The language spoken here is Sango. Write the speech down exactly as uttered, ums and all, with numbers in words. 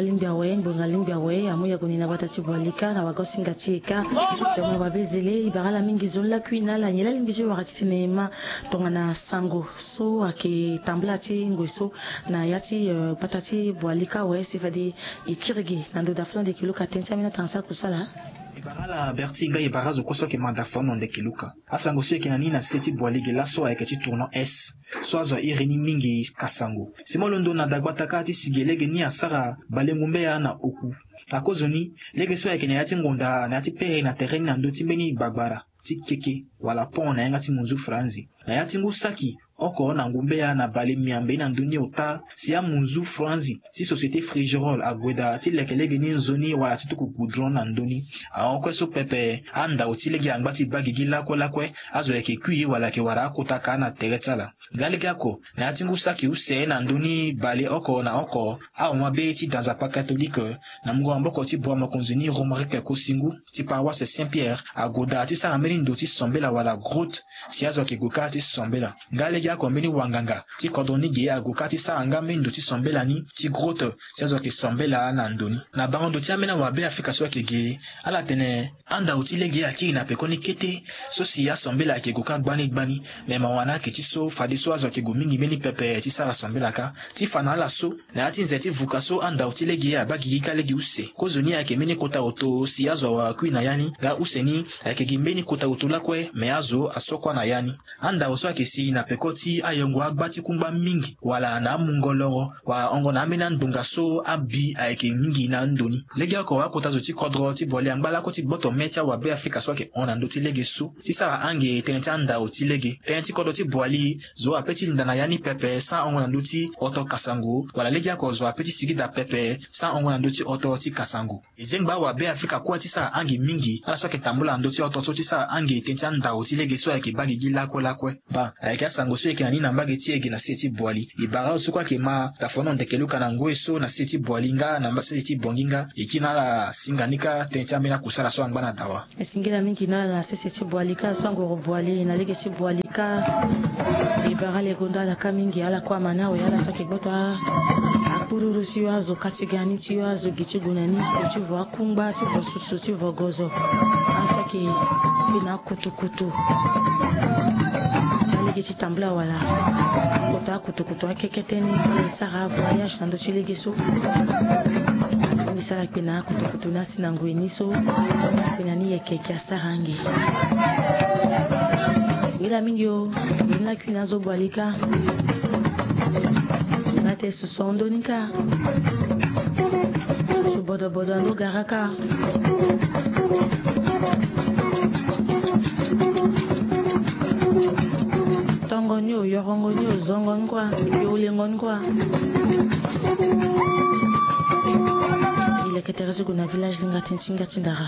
Alingbi awe, ngbonga alingbi awe, amu yago ni na gbata ti Boalika na wagosinga ti e ka. Tongana babezele, e bara ala mingi nzoni lakui na ala, nyen la alingbi ti wara titene e ma tongana sango so ayeke tambula ti ngoi so na ya ti, eh, gbata ti Boalika awe, si fade e kiri gi na ndo dafo na ndeke luka tënë ti ambeni atanga ti akusala. E bara ala Berti, nga e bara azo kue so ayeke ma dafo na ndeke luka. Asango so e yeke na ni na se ti Boali ge laso ayeke ti tournant S so azo a iri ni mingi Kasango. Si mo londo na dagbata kâ ti si ge lege ni asara bale ngumbeya na oku. Akozoni, lege so ayeke na ya ti ngonda na ya ti pere na tere ni na ndö ti mbeni gbagbara ti keke wala pont na yanga ti munzu franzi. Na ya ti ngu saki oko na ngumbeya na bale miambe na ndö ni ota, si amunzu franzi ti société Frigérol ague daa ti leke lege ni nzoni wala ti tuku goudron na ndö ni. Ahon kue so pepe, andao ti lege angba ti baa gigi lakue lakue, azo ayeke kui wala ayeke wara akota kâ na tere ti ala. Nga lege oko, na ya ti ngu saki use na ndö ni bale oko na oko, ahon mabe ti danzapa katolike na mungo maboko ti bua mokonzi ni Romaric Kosingu ti paroisse Saint Pierre ague daa ti sara mbeni ndo ti sombela wala grotte, si azo ayeke gue kâ ti sombela. Nga lege oko mbeni wanganga ti kodro ni ge ague kâ ti sara nga mbeni ndo ti sombela ni ti grotte, si azo ayeke sombela na ndo ni. Na bango ndo ti ambeni awabe Afrika so ayeke ge, ala tene andao ti lege akiri na pekoni kete so si asombela ayeke gue kâ gbani gbani. Me mawa na ayeke ti so, fadeso azo ayeke gue mingi mbeni pepe ti sara sombela kâ. Ti fa na ala so, na ya ti nze ti vuka so andao ti lege abaa gigi kâ lege use. Kozoni ayeke mbeni kota oto si azo awe akui na ya ni, nga use ni ayeke gi mbeni kota oto lakue, me azo aso kue na ya ni. Andao so ayeke si na peko ti ayongo agba ti kungba mingi wala na amungo loro, wala ahongo na ambeni andonga so abi ayeke mingi na ando ni. Lege oko akota zo ti kodro ti Boali angba lakue ti gboto me ti awabe Afrika so ayeke hon na ndö ti lege so ti sara ange tënë ti andao ti lege. Tënë ti kodro ti Boali, zo ape ti linda na ya ni pepe sans ahon na ndö ti oto Kasango, wala lege oko zo ape ti sigi daa pepe sans ahon na ndö ti oto ti Kasango. E zengba awabe Afrika kue ti sara ange mingi, ala so ayeke tambula na ndö ti oto so ti sara ange tënë ti andao ti lege so ayeke baa gigi lakue lakue. Baa, ayeke asango so e yeke na ni na mbage ti e ge na se ti Boali. E bara azo so kue ayeke ma dafo na ndeke luka na ngoi so na se ti Boali nga na mba se ti Bongi nga. E kiri na ala singa ni kâ tënë ti ambeni akusala so angba na dawa. E singila mingi na ala na sese ti Boali kâ, so angoro Boali na lege ti Boali kâ. E bara ala gonda ala kâ mingi, ala kue ama ni awe, ala so ayeke gboto a, akpururu ti yo, azo kâ ti ga ni ti yo, azo gi ti gue na ni, ti vo akungba, ti vo susu, ti vo gozo. Ala so ayeke kpe na akutukutu ti alege ti tambula wala akota akutukutu akekete ni so ala e sara voyage na ndö ti lege so. Ni si ala kpe na akutukutu ni. Ti na ngoi ni so, akpe na ni yeke yeke asara ange. Singila mingi o, nzoni lakui na azo Boali kâ. Nga te susu ahon ndoni kâ. Susu bodobodo ando gara kâ. Tongo ni o, yorongo ni o, zongo ni kua, yolengo ni kua. E leke tere ti gue na village linga tënë ti nga ti ndara.